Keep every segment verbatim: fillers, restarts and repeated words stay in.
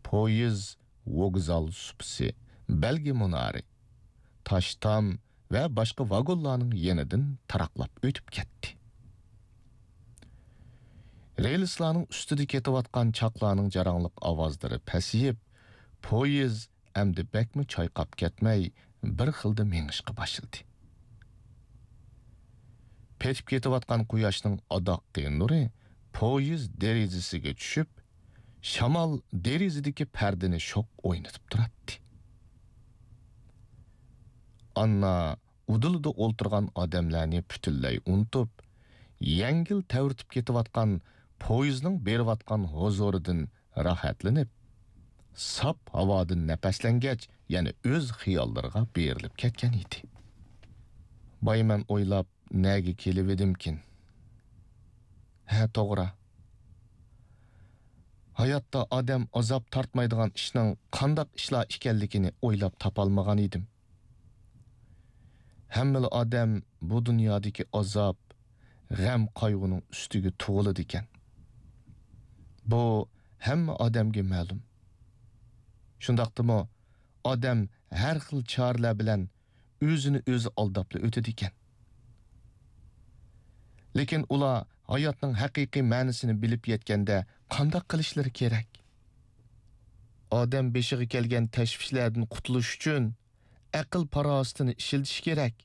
پويىز ۋوگزال سۇپىسى، بەلگە مۇنارى، تاش تام ۋە باشقا ۋاگونلارنىڭ يېنىدىن تاراقلاپ ئۆتۈپ كەتتى. رېلىسلارنىڭ ئۈستىدە كېتىۋاتقان چاقلارنىڭ جاراڭلىق ئاۋازلىرى پەسىيىپ، پويىز ئەمدى بەكمۇ چايقاپ كەتمەي، بىر خىلدا مېڭىشقا باشلىدى. پېتىپ كېتىۋاتقان قۇياشنىڭ ئاداققى نۇرى پويىز دېرىزىسىگە چۈشۈپ، شامال دېرىزىدىكى پەردىنى شوخ ئوينىتىپ تۇراتتى. ئاننا ئۇدۇلىدا ئولتۇرغان ئادەملەرنى پۈتۈنلەي ئۇنتۇپ، يەڭگىل تەۋرىتىپ كېتىۋاتقان پويىزنىڭ بېرىۋاتقان ھۇزۇرىدىن راھەتلىنىپ، ساپ ھاۋادىن نەپەسلەنگەچ، يەنە ئۆز خىياللىرىغا بېرىلىپ كەتكەن ئىدى. بايمەن ئويلاپ، نەگە كېلىۋىدىمكىن؟ ھە، توغرا. ھاياتتا ئادەم ئازاب تارتمايدىغان ئىشنىڭ قانداق ئىشلار ئىكەنلىكىنى ئويلاپ تاپالمىغان ئىدىم. ھەممىلا ئادەم بۇ دۇنيادىكى ئازاب، غەم، قايغۇنىڭ ئۈستىگە تۇغۇلىدىكەن. بۇ ھەممە ئادەمگە مەلۇم. شۇنداقتىمۇ ئادەم ھەر خىل چارىلەر بىلەن ئۆزىنى ئۆزى ئالداپلا ئۆتىدىكەن. لېكىن ئۇلار ھاياتنىڭ ھەقىقىي مەنىسىنى بىلىپ يەتكەندە قانداق قىلىشلىرى كېرەك؟ ئادەم بېشىغا كەلگەن تەشۋىشلەردىن قۇتۇلۇش ئۈچۈن ئەقىل-پاراسىتىنى ئىشلىتىشى كېرەك،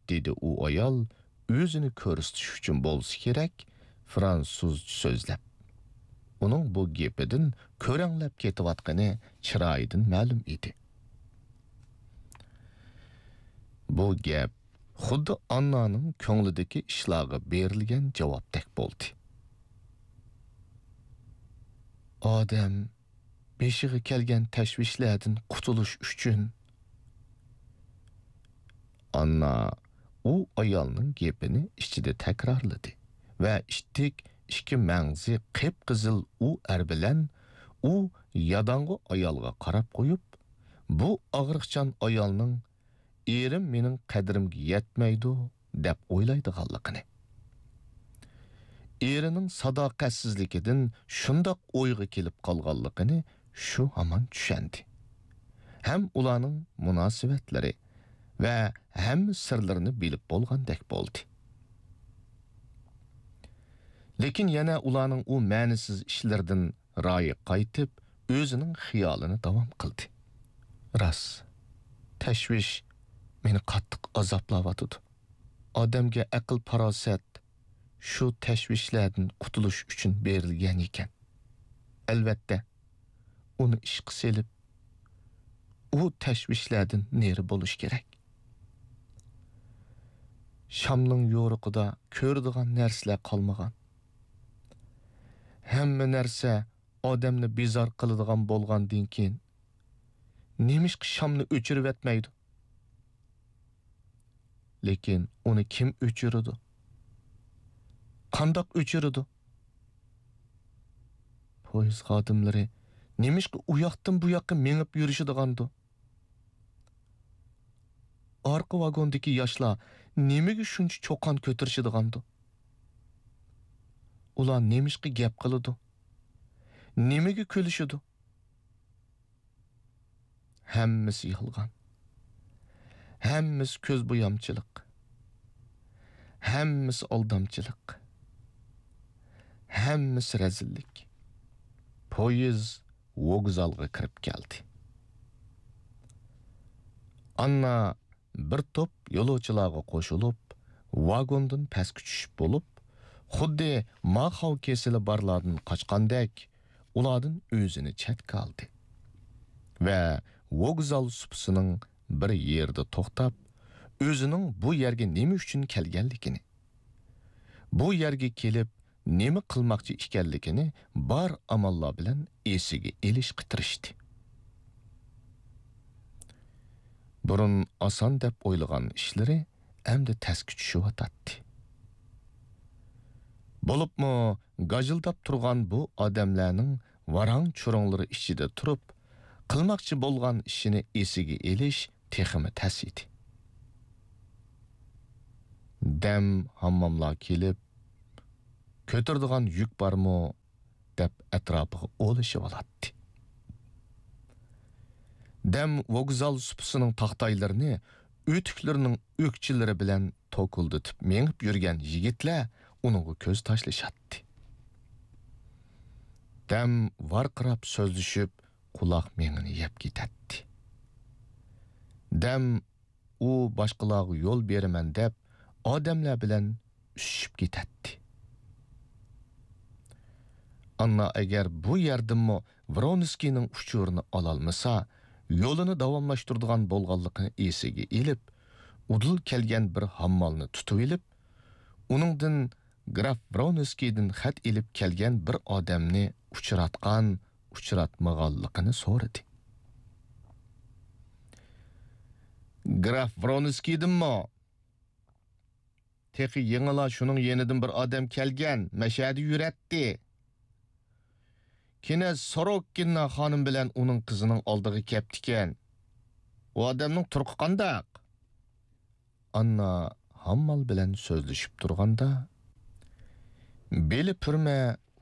دېدى ئۇ ئايال ئۆزىنى كۆرسىتىش ئۈچۈن بولسا كېرەك، فرانسۇزچە سۆزلەپ. ئۇنىڭ بۇ گېپىدىن كۆرەڭلەپ كېتىۋاتقىنى چىرايىدىن مەلۇم ئىدى. بۇ گەپ خۇددى ئاننانىڭ كۆڭلىدىكى ئىشلارغا بېرىلگەن جاۋابتەك بولدى. ئادەم بېشىغا كەلگەن تەشۋىشلەردىن قۇتۇلۇش ئۈچۈن. ئاننا ئۇ ئايالنىڭ گېپىنى ئىچىدە تەكرارلىدى ۋە ئىتتىك ئىككى مەڭزى قىپقىزىل ئۇ ئەر بىلەن ئۇ ياداڭغۇ ئايالغا قاراپ قويۇپ، بۇ ئاغرىقچان ئايالنىڭ «ئېرىم مېنىڭ قەدرىمگە يەتمەيدۇ» دەپ ئويلايدىغانلىقىنى، ئېرىنىڭ ساداقەتسىزلىكىدىن شۇنداق ئويغا كېلىپ قالغانلىقىنى شۇ ھامان چۈشەندى. ھەم ئۇلارنىڭ مۇناسىۋەتلىرى ۋە ھەممە سىرلىرىنى بىلىپ بولغاندەك بولدى. لېكىن يەنە ئۇلارنىڭ ئۇ مەنىسىز ئىشلىرىدىن رايى قايتىپ، ئۆزىنىڭ خىيالىنى داۋام قىلدى. راست، تەشۋىش مېنى قاتتىق ئازابلاۋاتىدۇ. ئادەمگە ئەقىل-پاراسەت شۇ تەشۋىشلەردىن قۇتۇلۇش ئۈچۈن بېرىلگەن ئىكەن. ئەلۋەتتە، ئۇنى ئىشقا سېلىپ، ئۇ تەشۋىشلەردىن نېرى بولۇش كېرەك. شامنىڭ يورۇقىدا كۆرىدىغان نەرسىلەر قالمىغان. ھەممە نەرسە ئادەمنى بىزار قىلىدىغان بولغاندىن كېيىن، نېمىشقا شامنى ئۆچۈرۈۋەتمەيدۇ؟ لېكىن ئۇنى كىم ئۆچۈرىدۇ؟ قانداق ئۆچۈرىدۇ؟ پويىز خادىملىرى نېمىشقا ئۇ ياقتىن بۇ ياققا مېڭىپ يۈرۈشىدىغاندۇ؟ ئارقا ۋاگوندىكى ياشلار نېمىگە شۇنچە چۇقان كۆتۈرۈشىدىغاندۇ؟ ئۇلار نېمىشقا گەپ قىلىدۇ؟ نېمىگە كۈلۈشىدۇ؟ ھەممىسى يالغان. ھەممىسى كۆز بويامچىلىق. ھەممىسى ئالدامچىلىق. ھەممىسى رەزىللىك. پويىز ۋوگزالغا كىرىپ كەلدى. ئاننا بىر توپ يولۇچىلارغا قوشۇلۇپ، ۋاگوندىن پەسكە چۈشۈپ بولۇپ، خۇددى ماخاۋ كېسىلى بارلاردىن قاچقاندەك، ئۇلاردىن ئۆزىنى چەتكە ئالدى ۋە ۋوگزال سۇپىسىنىڭ بىر يېرىدە توختاپ، ئۆزىنىڭ بۇ يەرگە نېمە ئۈچۈن كەلگەنلىكىنى، بۇ يەرگە كېلىپ نېمە قىلماقچى ئىكەنلىكىنى بار ئاماللار بىلەن ئېسىگە ئېلىشقا تىرىشتى. بۇرۇن ئاسان دەپ ئويلىغان ئىشلىرى ئەمدى تەسكە چۈشۈۋاتاتتى. بولۇپمۇ گاجىلداپ تۇرغان بۇ ئادەملەرنىڭ ۋاراڭ-چۇرۇڭلىرى ئىچىدە تۇرۇپ، قىلماقچى بولغان ئىشىنى ئېسىگە ئېلىش تېخىمۇ تەس ئىدى. دەم ھامماملار كېلىپ، كۆتۈرىدىغان يۈك بارمۇ، دەپ ئەتراپىغا ئولىشىۋالاتتى. دەم ۋوگزال سۇپىسىنىڭ تاختايلىرىنى ئۆتۈكلىرىنىڭ ئۆكچىلىرى بىلەن توكۇلدىتىپ مېڭىپ يۈرگەن يىگىتلەر ئۇنىڭغا كۆز تاشلىشاتتى. دەم ۋارقىراپ سۆزلىشىپ، قۇلاق مېڭىنى يەپ كېتەتتى. دەم ئۇ باشقىلارغا يول بېرىمەن دەپ، ئادەملەر بىلەن ئۈسۈشۈپ كېتەتتى. ئاننا ئەگەر بۇ يەردىنمۇ ۋرونسكىينىڭ ئۇچۇرىنى ئالالمىسا، يولىنى داۋاملاشتۇرىدىغان بولغانلىقىنى ئېسىگە ئېلىپ، ئۇدۇل كەلگەن بىر ھاممالنى تۇتۇۋېلىپ، ئۇنىڭدىن گراف ۋرونسكىيدىن خەت ئېلىپ كەلگەن بىر ئادەمنى ئۇچراتقان، ئۇچراتمىغانلىقىنى سورىدى. گراف ۋرونسكىيدىنمۇ؟ تېخى يېڭىلا شۇنىڭ يېنىدىن بىر ئادەم كەلگەن، مەشەدە يۈرەتتى. كېنە سوروككىنا خانىم بىلەن ئۇنىڭ قىزىنىڭ ئالدىغا كەپتىكەن. ئۇ ئادەمنىڭ تۇرقى قانداق؟ ئاننا ھاممال بىلەن سۆزلىشىپ تۇرغاندا، بېلى پۈرمە،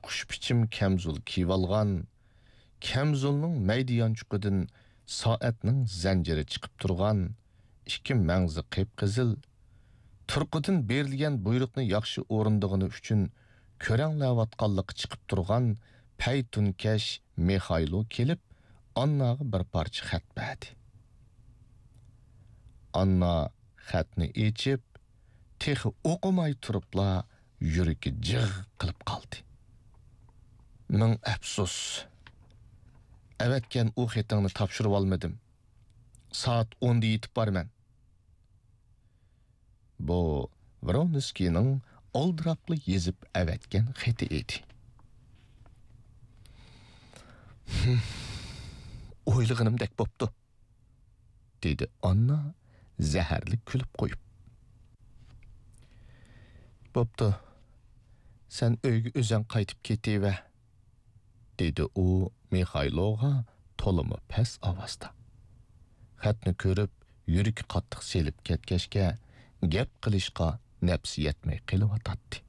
خۇشپىچىم كەمزۇل كىيىۋالغان، كەمزۇلنىڭ مەيدە يانچۇقىدىن سائەتنىڭ زەنجىرى چىقىپ تۇرغان، ئىككى مەڭزى قىپقىزىل، تۇرقىدىن بېرىلگەن بۇيرۇقنى ياخشى ئورۇندىغىنى ئۈچۈن كۆرەڭلەۋاتقانلىقى چىقىپ تۇرغان پەيتۇنكەش مىخايلو كېلىپ، ئانناغا بىر پارچە خەت بەردى. ئاننا خەتنى ئېچىپ، تېخى ئوقۇماي تۇرۇپلا يۈرىكى جىغ قىلىپ قالدى. مىڭ ئەپسۇس! ئەۋەتكەن ئۇ خېتىڭنى تاپشۇرۇۋالمىدىم. سائەت ئوندا يېتىپ بارىمەن. بۇ ۋرونسكىينىڭ ئالدىراپلا يېزىپ ئەۋەتكەن خېتى ئىدى. «ھىم، ئويلىغىنىمدەك بوپتۇ»، دېدى ئاننا زەھەرلىك كۈلۈپ قويۇپ. «بوپتۇ، سەن ئۆيگە ئۆزەڭ قايتىپ كېتىۋەر»، دېدى ئۇ مىخايلوغا تولىمۇ پەس ئاۋازدا. خەتنى كۆرۈپ، يۈرىكى قاتتىق سېلىپ كەتكەچكە، گەپ قىلىشقا نەپسى يەتمەي قېلىۋاتاتتى.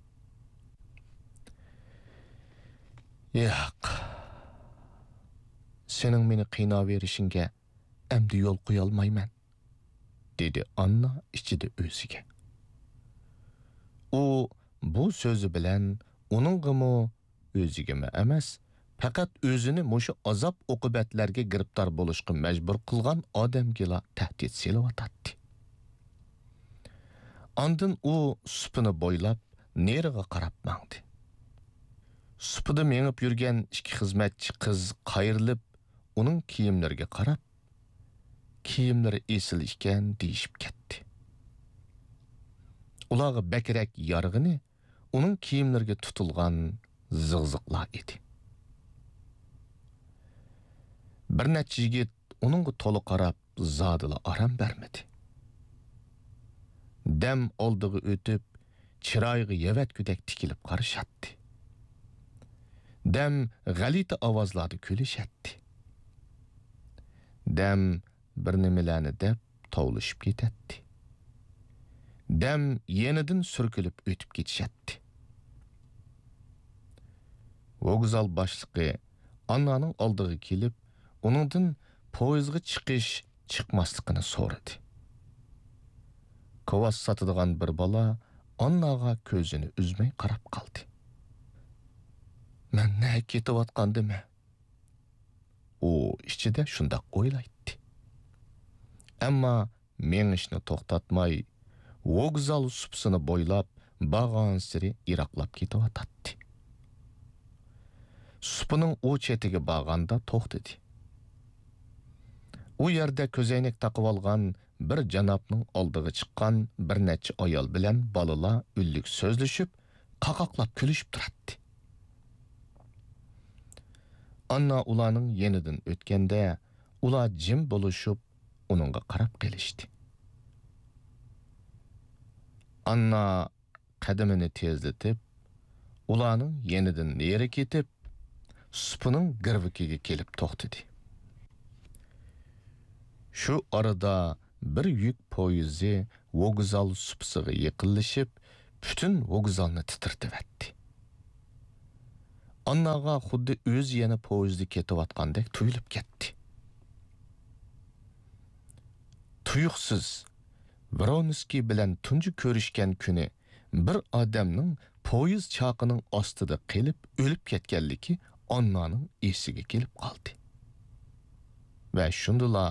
«ياق، سېنىڭ مېنى قىيناۋېرىشىڭگە ئەمدى يول قويالمايمەن»، دېدى ئاننا ئىچىدە ئۆزىگە. ئۇ بۇ سۆزى بىلەن ئۇنىڭغىمۇ، ئۆزىگىمۇ ئەمەس، پەقەت ئۆزىنى مۇشۇ ئازاب-ئوقۇبەتلەرگە گىرىپتار بولۇشقا مەجبۇر قىلغان ئادەمگىلا تەھدىت سېلىۋاتاتتى. ئاندىن ئۇ سۇپىنى بويلاپ نېرىغا قاراپ ماڭدى. سۇپىدا مېڭىپ يۈرگەن ئىككى خىزمەتچى قىز قايرىلىپ، ئۇنىڭ كىيىملىرىگە قاراپ، «كىيىملىرى ئېسىل ئىكەن» دېيىشىپ كەتتى. ئۇلارغا بەكرەك يارىغىنى ئۇنىڭ كىيىملىرىگە تۇتۇلغان زىغزىغلار ئىدى. بىر نەچچە يىگىت ئۇنىڭغا تولا قاراپ، زادىلا ئارام بەرمىدى. دەم ئالدىغا ئۆتۈپ، چىرايىغا يەۋەتكۈدەك تىكىلىپ قارىشاتتى. دەم غەلىتە ئاۋازلاردا كۈلۈشەتتى. دەم بىر نېمىلەرنى دەپ توۋلىشىپ كېتەتتى. دەم يېنىدىن سۈركىلىپ ئۆتۈپ كېتىشەتتى. ۋوگزال باشلىقى ئاننانىڭ ئالدىغا كېلىپ، ئۇنىڭدىن پويىزغا چىقىش، چىقماسلىقىنى سورىدى. كوۋاس ساتىدىغان بىر بالا ئانناغا كۆزىنى ئۈزمەي قاراپ قالدى. «مەن نەگە كېتىۋاتقاندىمەن؟» ئۇ ئىچىدە شۇنداق ئويلايتتى. ئەمما مېڭىشنى توختاتماي، ۋوگزال سۇپىسىنى بويلاپ بارغانسېرى يىراقلاپ كېتىۋاتاتتى. سۇپىنىڭ ئۇ چېتىگە بارغاندا توختىدى. ئۇ يەردە كۆزەينەك تاقىۋالغان بىر جانابنىڭ ئالدىغا چىققان بىر نەچچە ئايال بىلەن بالىلار ئۈنلۈك سۆزلىشىپ، قاقاقلاپ كۈلۈشۈپ تۇراتتى. ئاننا ئۇلارنىڭ يېنىدىن ئۆتكەندە، ئۇلار جىم بولۇشۇپ، ئۇنىڭغا قاراپ قېلىشتى. ئاننا قەدىمىنى تېزلىتىپ، ئۇلارنىڭ يېنىدىن نېرى كېتىپ، سۇپىنىڭ گىرۋىكىگە كېلىپ توختىدى. شۇ ئارىدا بىر يۈك پويىزى ۋوگزال سۇپىسىغا يېقىنلىشىپ، پۈتۈن ۋوگزالنى تىترىتىۋەتتى. ئانناغا خۇددى ئۆزى يەنە پويىزدا كېتىۋاتقاندەك تۇيۇلۇپ كەتتى. تۇيۇقسىز ۋرونسكىي بىلەن تۇنجى كۆرۈشكەن كۈنى بىر ئادەمنىڭ پويىز چاقىنىڭ ئاستىدا قېلىپ ئۆلۈپ كەتكەنلىكى ئاننانىڭ ئېسىگە كېلىپ قالدى. ۋە شۇندىلا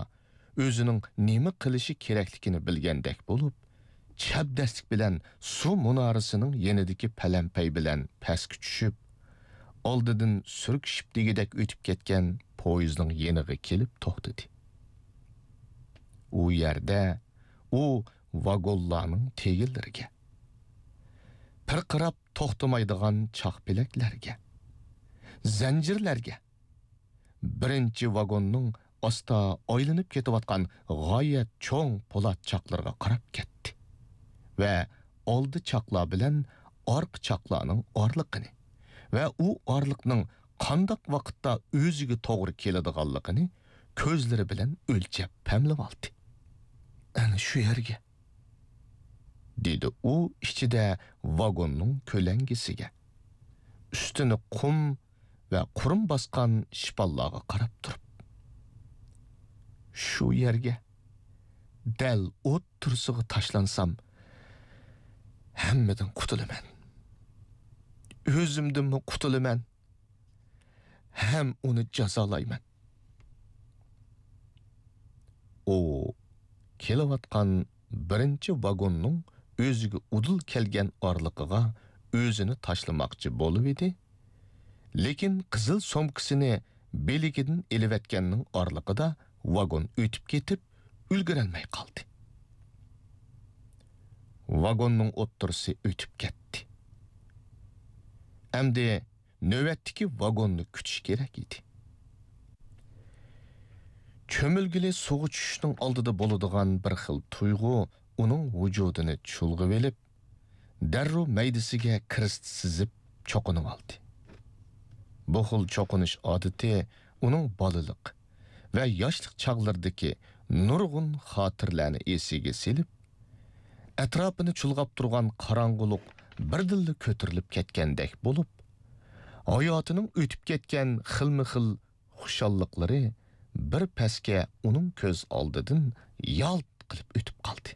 ئۆزىنىڭ نېمە قىلىشى كېرەكلىكىنى بىلگەندەك بولۇپ، چەبدەسلىك بىلەن سۇ مۇنارىسىنىڭ يېنىدىكى پەلەمپەي بىلەن پەسكە چۈشۈپ، ئالدىدىن سۈركىشىپ دېگۈدەك ئۆتۈپ كەتكەن پويىزنىڭ يېنىغا كېلىپ توختىدى. ئۇ يەردە ئۇ ۋاگونلارنىڭ تېگىنلىرىگە، پىرقىراپ توختىمايدىغان چاقپەلەكلەرگە، زەنجىرلەرگە، بىرىنچى ۋاگوننىڭ ئاستا ئايلىنىپ كېتىۋاتقان غايەت چوڭ پولات چاقلىرىغا قاراپ كەتتى ۋە ئالدى چاقلار بىلەن ئارقا چاقلارنىڭ ئارىلىقىنى ۋە ئۇ ئارىلىقنىڭ قانداق ۋاقىتتا ئۆزىگە توغرا كېلىدىغانلىقىنى كۆزلىرى بىلەن ئۆلچەپ پەملىۋالدى. «ئەنە شۇ يەرگە»، دېدى ئۇ ئىچىدە ۋاگوننىڭ كۆلەڭگىسىگە، ئۈستىنى قۇم ۋە قۇرۇم باسقان شىپاللارغا قاراپ تۇرۇپ. «شۇ يەرگە، دەل ئوتتۇرىسىغا تاشلانسام، ھەممىدىن قۇتۇلىمەن. ئۆزۈمدىنمۇ قۇتۇلىمەن، ھەم ئۇنى جازالايمەن.» ئۇ كېلىۋاتقان بىرىنچى ۋاگوننىڭ ئۆزىگە ئۇدۇل كەلگەن ئارىلىقىغا ئۆزىنى تاشلىماقچى بولۇۋىدى، لېكىن قىزىل سومكىسىنى بېلىكىدىن ئېلىۋەتكەننىڭ ئارىلىقىدا ۋاگون ئۆتۈپ كېتىپ، ئۈلگۈرەلمەي قالدى. ۋاگوننىڭ ئوتتۇرىسى ئۆتۈپ كەتتى. ئەمدى نۆۋەتتىكى ۋاگوننى كۈتۈش كېرەك ئىدى. چۆمۈلگىلى سۇغا چۈشۈشنىڭ ئالدىدا بولىدىغان بىر خىل تۇيغۇ ئۇنىڭ ۋۇجۇدىنى چۇلغىۋېلىپ، دەررۇ مەيدىسىگە كىرىست سىزىپ چوقۇنۇۋالدى. بۇ خىل چوقۇنۇش ئادىتى ئۇنىڭ بالىلىق ۋە ياشلىق چاغلىرىدىكى نۇرغۇن خاتىرىلەرنى ئېسىگە سېلىپ، ئەتراپىنى چۇلغاپ تۇرغان قاراڭغۇلۇق بىردىنلا كۆتۈرۈلۈپ كەتكەندەك بولۇپ، ھاياتىنىڭ ئۆتۈپ كەتكەن خىلمۇ خىل خۇشاللىقلىرى بىر پەسكە ئۇنىڭ كۆز ئالدىدىن يالت قىلىپ ئۆتۈپ قالدى.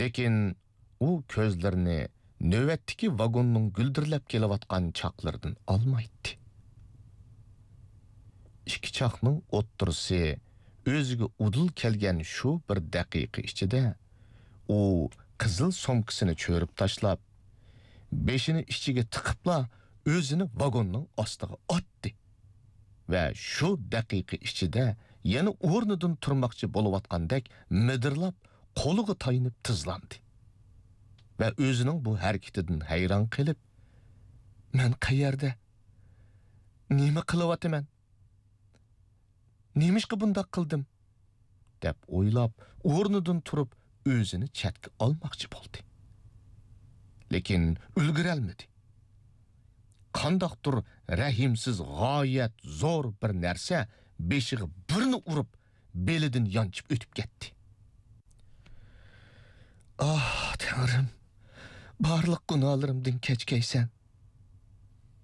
لېكىن ئۇ كۆزلىرىنى نۆۋەتتىكى ۋاگوننىڭ گۈلدۈرلەپ كېلىۋاتقان چاقلىرىدىن ئالمايتتى. ئىككى چاقنىڭ ئوتتۇرىسى ئۆزىگە ئۇدۇل كەلگەن شۇ بىر دەقىقە ئىچىدە، ئۇ قىزىل سومكىسىنى چۆرۈپ تاشلاپ، بېشىنى ئىچىگە تىقىپلا، ئۆزىنى ۋاگوننىڭ ئاستىغا ئاتتى ۋە شۇ دەقىقە ئىچىدە يەنە ئورنىدىن تۇرماقچى بولۇۋاتقاندەك مىدىرلاپ، قولىغا تايىنىپ تىزلاندى ۋە ئۆزىنىڭ بۇ ھەرىكىتىدىن ھەيران قېلىپ، «مەن قەيەردە؟ نېمە قىلىۋاتىمەن؟ نېمىشقا بۇنداق قىلدىم؟» دەپ ئويلاپ، ئورنىدىن تۇرۇپ، ئۆزىنى چەتكە ئالماقچى بولدى. لېكىن ئۈلگۈرەلمىدى. قانداقتۇر رەھىمسىز، غايەت زور بىر نەرسە بېشىغا بىرنى ئۇرۇپ، بېلىدىن يانچىپ ئۆتۈپ كەتتى. «ئاھ، تەڭرىم، بارلىق گۇناھلىرىمدىن كەچكەيسەن»،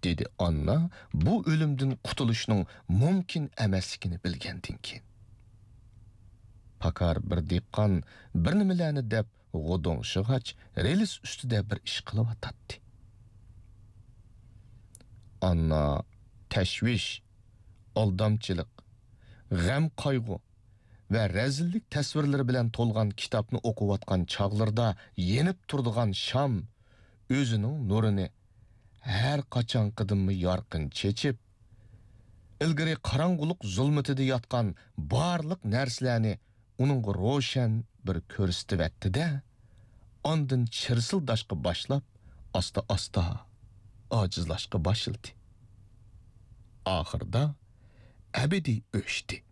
دېدى ئاننا بۇ ئۆلۈمدىن قۇتۇلۇشنىڭ مۇمكىن ئەمەسلىكىنى بىلگەندىن كېيىن. پاكار بىر دېھقان بىر نېمىلەرنى دەپ غودۇڭشىغاچ، رېلىس ئۈستىدە بىر ئىش قىلىۋاتاتتى. ئاننا تەشۋىش، ئالدامچىلىق، غەم-قايغۇ ۋە رەزىللىك تەسۋىرلىرى بىلەن تولغان كىتابنى ئوقۇۋاتقان چاغلىرىدا يېنىپ تۇرىدىغان شام ئۆزىنىڭ نۇرىنى ھەر قاچانقىدىنمۇ يارقىن چېچىپ، ئىلگىرى قاراڭغۇلۇق زۇلمىتىدە ياتقان بارلىق نەرسىلەرنى ئۇنىڭغا روشەن بىر كۆرسىتىۋەتتى-دە، ئاندىن چىرسىلداشقا باشلاپ، ئاستا-ئاستا ئاجىزلاشقا باشلىدى. ئاخىرىدا ئەبەدىي ئۆچتى.